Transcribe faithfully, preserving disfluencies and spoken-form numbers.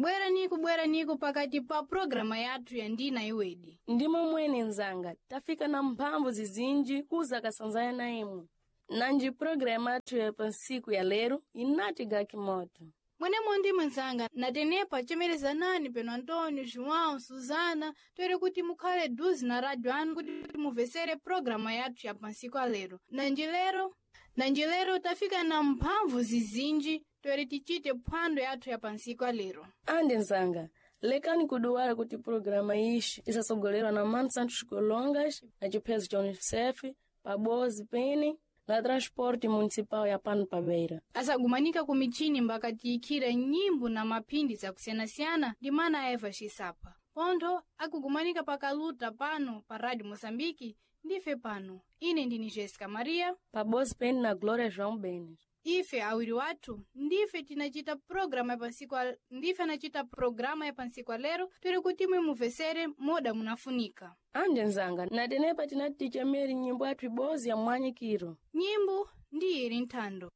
Bweraniku bweraniku pakati pa programa yathu ya Ndina Iwedi. Ndimo mwene nzanga, tafika na mphamvu zizinji kuza kasanzaya na imwe. Nanji programa yathu ya pansiku ya lero inati gakimoto. Mwenemo ndi mnzanga natenepa chemerezanani peno Antônio, João, Suzana, toere kuti mukhale duzi na rádio anu kuti muvesere programa yathu ya pansiku alero. Nanji lero, nanji lero tafika na mphamvu zizinji toere tichite phwando yathu ya pansiku alero. Andi nzanga, lekani kuduwala kuti programa ixi isasogolerwa na Mano Santos Colongas, na chiphezo cha Unicef, pabozi pene na transporte municipal ya pano pa Beira. Asagumanika ku michini mbakatiyikira nyimbo na maphindi zakusiyanasiyana ndi mana aeva xisapa. Pontho akugumanika pakaluta pano pa Rádio Moçambique ndife pano. Ine ndini Jessica Maria. Pabozi pene na Glória João Benes. Ife awiri wathu ndife tinachita programa ya pansiku al... ndife anachita programa ya pansiku alero toere kuti imwe muvesere moda munafunika. Andi nzanga, natenepa tinati tichemeri nyimbo yathu ibozi ya mwanyikiro. Nyimbo ndi ili nthando.